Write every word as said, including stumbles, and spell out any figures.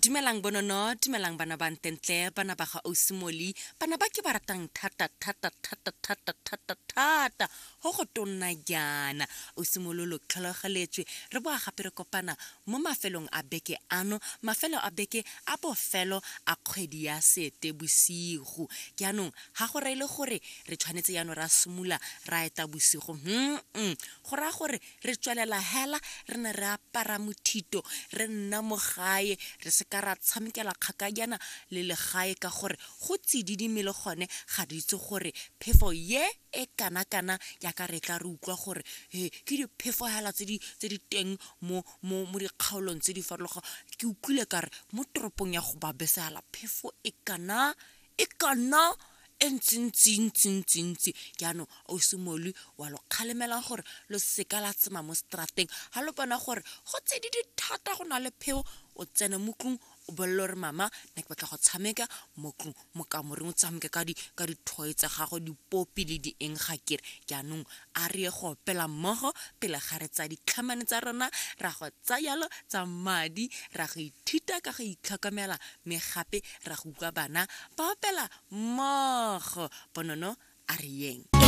Dumelang bonono, dumelang bana ba ntentle, bana ba ga Osimoli, bana ba ke ba ratang thata thata thata thata thata thata go go tonna jaana. Osimololo tlhologeletswe re boa gape re kopana mo mafelong a beke ano, mafelo a beke a bofelo a kgwedi ya Seetebosigo. Jaanong ga go reele gore re tshwanetse jaanong ra simolola ra eta bosigo, hmm go raya gore re tswelela hela re ne re apara mothito, re nna mo gae, re se ka ra tshamekela kgakajana le legae ka gore go tsididi le gone ga di itse gore phefo ye e kana-kana jaaka re tla re utlwa gore he ke diphefo hela tse di tse di teng mo mo mo dikgaolong tse di farologaneng. Ke utlwile kare mo toropong ya go babesala phefo e kana e kana e ntsi-ntsi-ntsi-ntsi-ntsi. Jaanong o simole wa lo kgalemela gore lo seka la tsema mo strateng ga lo bona gore go tsididi thata go na le pheo, o tsene mo tlong o bolele gore mama nna ke batla go tshameka mo tlong mo kamoreng, o tshameke ka di ka di-toy tsa gago, dipopi le di eng ga kere. Jaanong a re ye go opela mmogo pele ga re tsaya ditlhamane tsa rona, ra go tsaya jalo tsa madi, ra go ithuta ka go itlhokomela, mme gape ra go utlwa bana ba opela mmogo. Bonono a re yeng.